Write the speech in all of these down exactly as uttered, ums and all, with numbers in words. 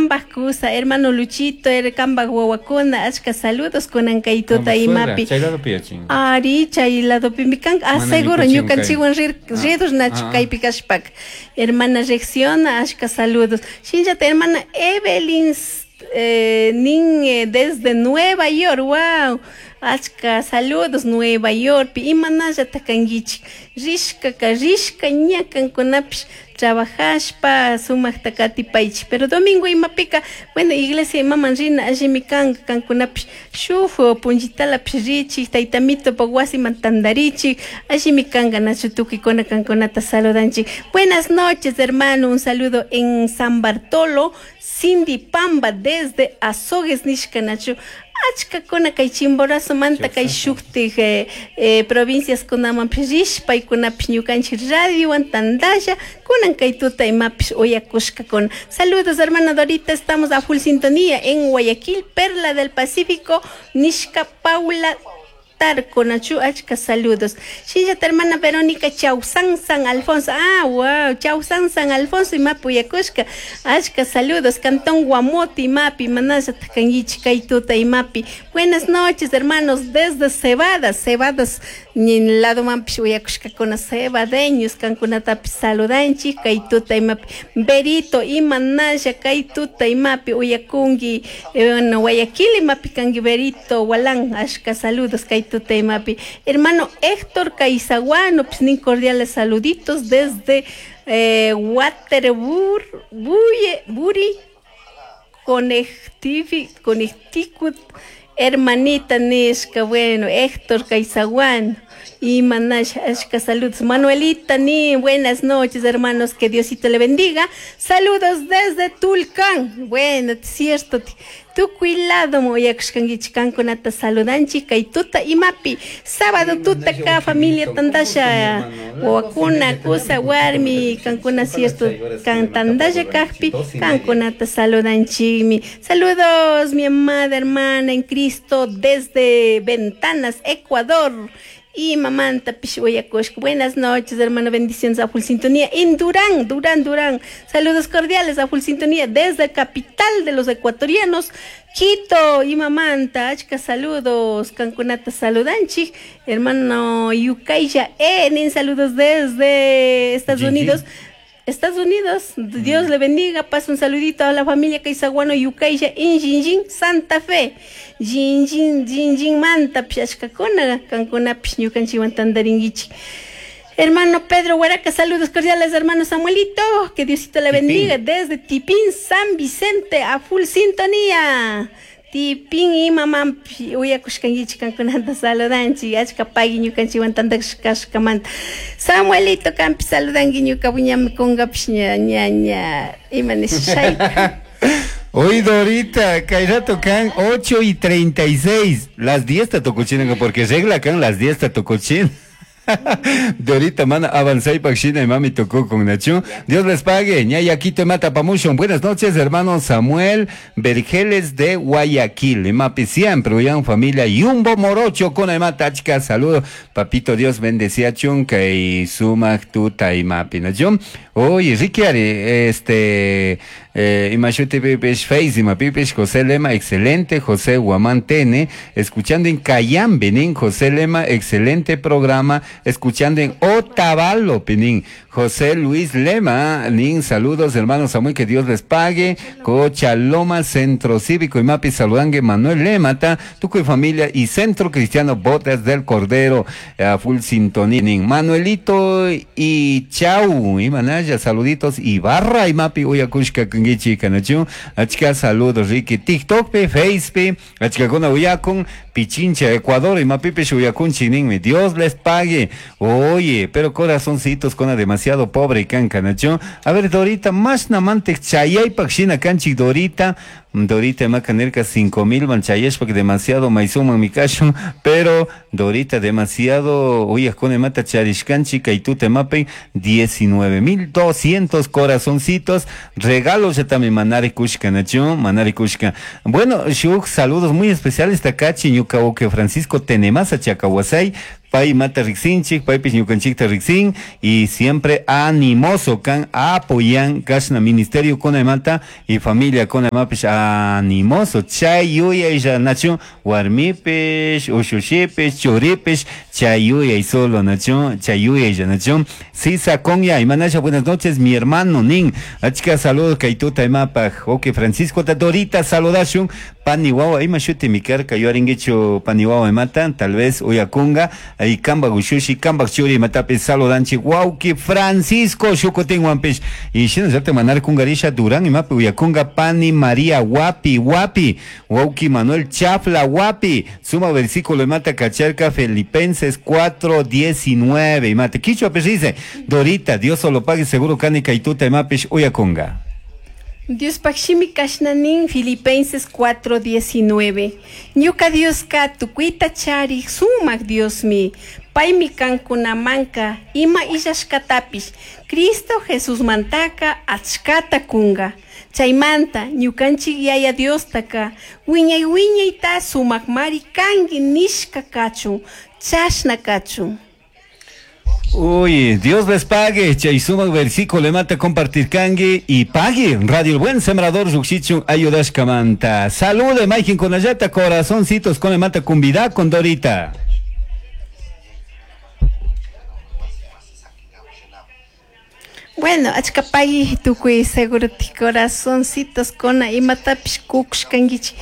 Kambaj kusa, hermano Luchito, er kambaj wawakuna, achka saludos kunan kay tuta imapi. Chay ladopi yachin. Ari, chay ladopimi kan, ah, seguro ñukanchikwan rir, ridos nachu ah. Kaypi kashpaka. Hermana Reacciona, achka saludos. Shinllata hermana Evelyn eh, nin eh, desde Nueva York, wow. Achka saludos Nueva York, imanallata kankichik, rishkaka rishka ña kankunapish trabajashpa sumaqta katipaychik, pero domingo imapika, bueno, iglesia imaman rina allimi kanka kankunapish shuk punllitalapish richik, taytamitopak wasiman tantarichik, allimi kanka nachu tukuykuna kankunata saludanchik. Buenas noches, hermano, un saludo en San Bartolo, Cindy Pamba desde Azogues nishka nachu. Achkakuna kay Chimborazo manta kay shuktik eh, eh, provincias kunamanpish rishpa paykunapish ñukanchik radiowan tantalla kunan kay tuta imapish uyakushkakuna. Saludos, hermana Dorita, estamos a full sintonía en Guayaquil, Perla del Pacífico, nishka Paula Tarco, nachu, achka saludos. Shinllata hermana Verónica Chausan San Alfonso, ah, wow, Chausan San Alfonso imapi uyakushka, achka saludos. Cantón Guamote imapi, manallata kankichik kay tuta imapi. Buenas noches, hermanos, desde Cebadas, Cebadas, lado manpish uyakushkakuna, cebadeños, kankunatapish saludanchik kay tuta imapi. Berito, imanalla kay tuta imapi uyakunki, eh, bueno, Guayaquil imapi kanki Berito, Walán, achka saludos kay tuta imapi. Hermano Héctor Caizaguano, pues nin cordiales saluditos desde eh, Waterbury, Buri, Connecticut, hermanita nishka, bueno, Héctor Caizaguano. Y manash, ashka saludos. Manuelita, ni buenas noches, hermanos, que Diosito le bendiga. Saludos desde Tulcán. Bueno, cierto. Tukuy lado uyakushkankichik kankunata saludanchik kay tuta imapi. Sábado tuta ka familia tandasha wawakuna kusa warmi kankuna cierto kan tandasha kajpi kankunata saludanchikmi. Saludos, mi amada hermana en Cristo desde Ventanas, Ecuador. Y mamanta uyakushka. Buenas noches, hermano, bendiciones a full sintonía en Durán, Durán, Durán. Saludos cordiales a full sintonía desde capital de los ecuatorianos, Quito. Y mamanta, achka saludos, kankunata saludanchik, hermano Yukaya, en saludos desde Estados Unidos. Estados Unidos, Dios le bendiga, pasa un saludito a la familia Caizaguano Yukaya en Jinjin, Santa Fe. Jinjin, Jinjin manta, pishashkakuna, kankuna ñukanchikwan tantarinkichik. Hermano Pedro Huaraca, saludos cordiales, hermano Samuelito, que Diosito le bendiga desde Tipín, San Vicente, a full sintonía. Tipín y mamá uyakushkankichik kankunata saludanchik, achka pagui ñukanchikwan tantashkashkamanta. Samuelito kampi saludanki ñuka buñami kungapish ña ña ña ima nishayka. Hoy Dorita, kay rato kan ocho y treinta y seis, las diez ta tukuchinaka porque regla kan las diez ta tukuchin. Dorita, mana avanzai pakshina y mami tocó con Nacho. Dios les pague. Ñayaquito mata pamushon. Buenas noches, hermano Samuel Vergeles de Guayaquil. Mapi siempre, uyan familia Yumbo Morocho con mata chica. Saludo, papito Dios bendecía chunca y sumak tuta y mapi Nacho. Oye, Ricky Ari, este, eh, imashuti pipish face, imapipish José Lema, excelente, José Guamán Tene, escuchando en Cayambe, nin, José Lema, excelente programa, escuchando en Otavalo, Pinin, José Luis Lema, nin, saludos, hermano Samuel, que Dios les pague, Cochaloma, Centro Cívico, Imapi, saludangue, Manuel Lema, ta, Tuco y familia, y Centro Cristiano Botas del Cordero, a full sintonía, nin, Manuelito y Chau, y Manaya, saluditos, y barra, y Mapi, uyakushka, kungichi, kanachu, achka, saludos, Ricky, TikTok, pe, Face, pe, achka, kuna, uyakun, Pichincha, Ecuador, y Mapipe, uyakunchi, ninmi, Dios les pague. Oye, pero corazoncitos con demasiado pobre can canacho. A ver, Dorita, más namante chayay pakshina canchi Dorita. Dorita macanerca cinco mil manchayes porque demasiado maizuma mi cacho, pero Dorita demasiado, oye, con mata charishkanchi kaitute mapen diecinueve mil doscientos corazoncitos, regalos ya también manari kushka nacho, manari kushka. Bueno, shuk saludos muy especiales takachi ñukaoke Francisco Tenemasa Chacahuasay. Pay mata riksinchik, paypis ñukanchikta riksin y siempre animoso kan apoyan kashna ministerio kunamanta y familia kunamapish animoso. Chay yuyaylla nachu warmipish, ushushipish, churipish, chay yuyay solo nachu, chay yuyaylla nachu. Sisa Konya, imanasha, buenas noches, mi hermano nin. Achka saludos kaytuta imapaj. Ok, Francisco Dorita saludashun. Pani wawa ima shuti mikarka yuaringuichu pani wawa imata, tal vez uyakunga ahí kamba gushushi kamba churi imatapi saludanchi wauki Francisco shukutin wampish y shinallata manar kungarisha Durán imapi uyakunga pani María wapi wapi wauki Manuel Chafla wapi suma versículo imata kacharka Filipenses cuatro diecinueve imata kichwa dice Dorita Dios solo pague seguro kani kaituta imapish uyakunga. Dios pakshimi kashnanin Filipenses cuatro diecinueve. Ñuka Dios ka tukuita chari sumak Dios mi. Paymi kankunamanka ima illashkatapish Cristo Jesús mantaka achkata kunga. Chaymanta ñukanchik yaya Diostaka wiñay wiñayta sumakmari kanki nishka kachun chashna kachun. Uy, Dios les pague, chay sumak versículo le mata compartir kangi y pague. Radio El Buen Sembrador Ruxichun ayudash kamanta. Salude, Maikin con ayata, corazoncitos con le mata cumbida con Dorita. Bueno, achkapagui tukuy seguro ti corazoncitos con imatapish kukushkankichik.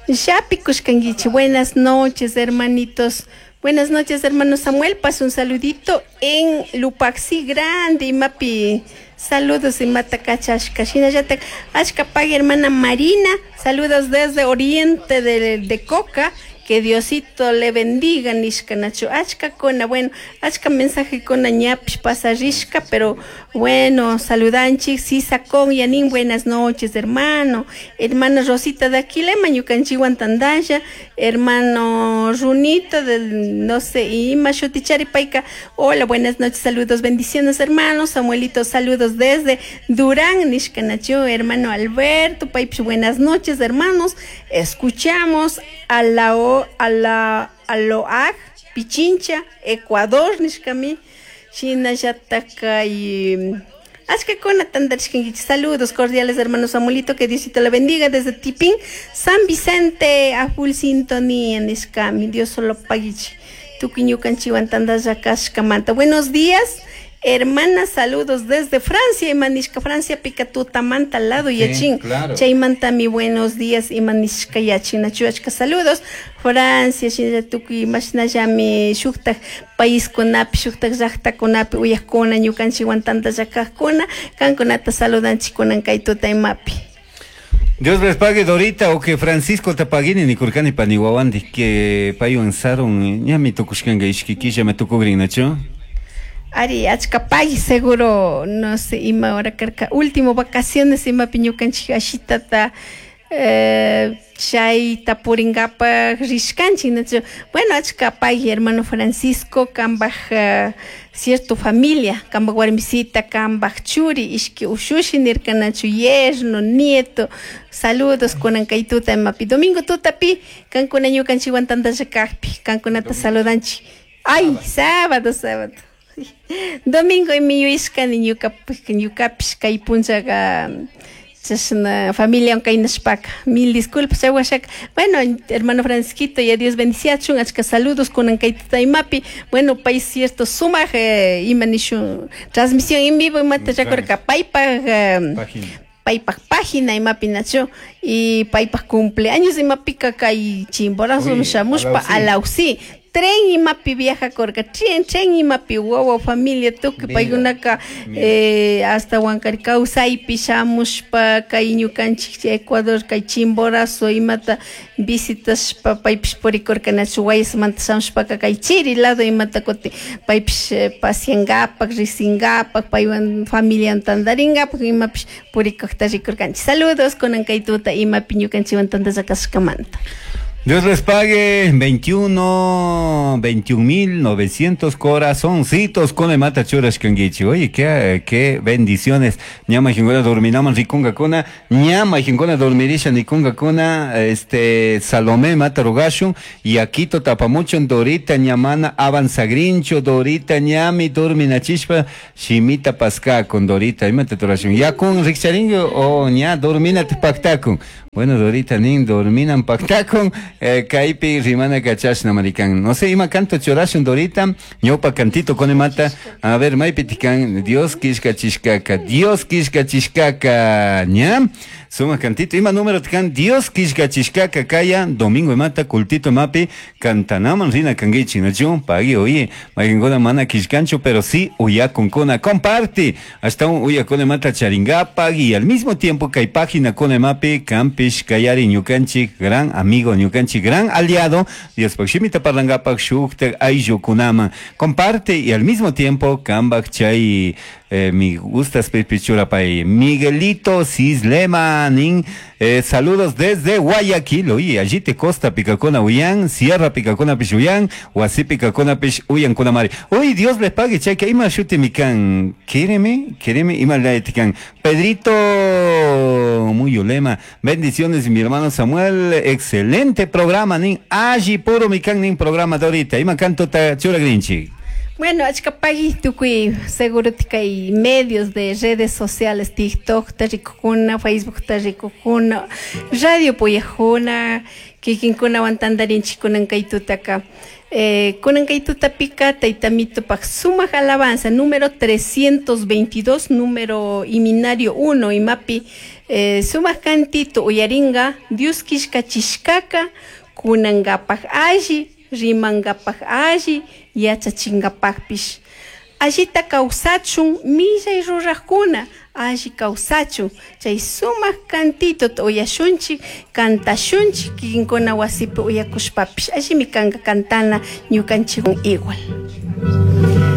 Yapi kushkankichik. Buenas noches, hermanitos. Buenas noches, hermano Samuel. Paso un saludito en Lupaxi Grande, imapi. Saludos, imata kachashka. Shinallata achkapagui, hermana Marina. Saludos desde Oriente de, de Coca. Que Diosito le bendiga, nishka nacho. Achka kona, bueno, achka mensaje kona ñapish pasarishka, pero bueno, saludanchik, sisa con yanin, buenas noches, hermano. Hermana Rosita de Aquilema, ñukanchiwan tandaya, hermano Runito del, no sé, ima shutichari paika. Hola, buenas noches, saludos, bendiciones, hermano. Samuelito, saludos desde Durán, nishka nacho, hermano Alberto, paipish, buenas noches, hermanos. Escuchamos a la o a la Aloag, Pichincha, Ecuador, nishkami, shinallataka y achkakuna tandarishkankichik. Saludos cordiales, hermano Samuelito, que Diosito le bendiga desde Tipín, San Vicente, a full sintonía, nishkami, Dios solo paguichi, tukuy ñukanchiwan tandallakashkamanta. Buenos días, hermana, saludos desde Francia, imanishka Francia, pica tutamanta lado yachin. Sí, claro. Chaymanta mi buenos días, imanishka yachin, nachuachka saludos. Francia, shinallatukuy, mashnallami shuktak paiskunapi, shuktak llaqtakunapi, uyaqkuna, ñukanchikwan tantallakaqkuna, kankunata saludanchikunan kay tuta imapi. Dios les pague, Dorita, o que Francisco tapaguini ni kurkani paniwawandi, que paywan sarun, ñami tukushkanga ishkikilla me tukugrin, nacho. Ari, achkapay, seguro, no sé, ima hora karka, último vacaciones, ima ñukanchik ashitata, eh, chay tapuringapaj rishkanchik, nacho. Bueno, achkapay, hermano Francisco, kambaj, uh, cierto familia, kambaj warmisita, kambaj churi, ishki ushushi nirka, nacho, yerno, nieto, saludos kunan kay tuta imapi, domingo tutapi, kankuna ñukanchikwan tantallakajpi, kankunata saludanchik. Ay, sábado, sábado. Domingo imi yuyashkani ñukapish, ñukapish kay punchaqa chashna familia kaynashpaka. Mil disculpas, chawashaka. Bueno, hermano Francisquito, ya Dios bendiciachun, achka saludos kunan kay tuta imapi. Bueno, pay cierto sumaj, eh, ima nishun transmisión en vivo imata rikurka paypaj, eh, Página. paypaj página imapi nacho y paypaj cumpleaños imapika kay Chimborazo Uy, shamushpa alausi. alausi. Tren imapi viaja korka, tren, tren imapi wawa familia tukuy Mira, paykunaka, mira. eh, hasta Huancar kawsaypi shamushpa kay ñukanchik Ecuador kay Chimborazo imata visitashpa paypish purikurka nachu Guayasmanta shamushpaka kay chiri lado imata kuti paypish, eh, pasiangapak, risingapak, paywan familia tantaringapak imapish purikukta rikurkanchik. Saludos kunan kay tuta imapi ñukanchikwan tantallakashkamanta. Dios les pague veintiuno, veintiún mil novecientos corazoncitos con el mata churas kangichi. Oye, qué, qué bendiciones. Ñama jingona dorminaman rikunga kuna, ñama jingona dormirisha nikunga kuna, este, Salomé mata rogashun, y aquito tapamucho Dorita ñamana avanzagrincho, Dorita ñami dorminachishpa, shimita pasca con Dorita, imate torashun. Ya con rikcharingo o ña dormina pactacun. Bueno, Dorita nin dorminan pactacun, eh, kaipi rimana kachashna marican. No sé, ima canto chorashun Dorita, ñopa cantito con mata. A ver, maipitican, Dios kishka chishkaka, Dios kishka chishkaka, ña. Suma cantito, ima número tican, Dios kishka chishkaka kaya, domingo mata, cultito mapi, cantanaman rina kangichi, nachu, pagui, oye, magingoda mana kishkancho, pero sí, uyakunkuna, comparte, hasta un uyakune mata charingapa, y al mismo tiempo que hay página con mapi, campish, kayari, ñukanchi, gran amigo, ñukanchi, gran aliado, Dios pakshimita parlangapak, shukta, ayllukunama, comparte, y al mismo tiempo, kambak chay, eh, mi gustas pichura pay, Miguelito Cislema, nin, eh, saludos desde Guayaquil, oye, allí te costa picacona uyan, sierra picacona pichuyan, huasi picacona pich uyan kunamari. Uy, Dios les pague, che, que ima shuti mikan, quéreme, quéreme, ima laetican. Pedrito Muyulema, bendiciones mi hermano Samuel, excelente programa, nin, allí puro mikan nin programa de ahorita, ima canto ta chura grinchi. Bueno, achkapagui tukuy seguro kay medios de redes sociales, TikTok tarikukuna, Facebook tarikukuna, radio puyajuna, kikinkunawan tantarinchik kunan kay tutaka. Eh, kunan kay tutapika taytamitopaq sumaq alabanza número trescientos veintidós, número iminario uno, imapi, eh, sumaq cantito uyaringa, Dios kishkachishkaka, kunangapaq alli, rimangapaq alli, yachachingapaqpish. Allita kawsachun millay ruraqkuna, alli kawsachun, chay sumaq cantito uyashunchik, kantashunchik, kikinkuna wasipi uyakushpapish, allimi kanka kantana ñukanchikwan igual.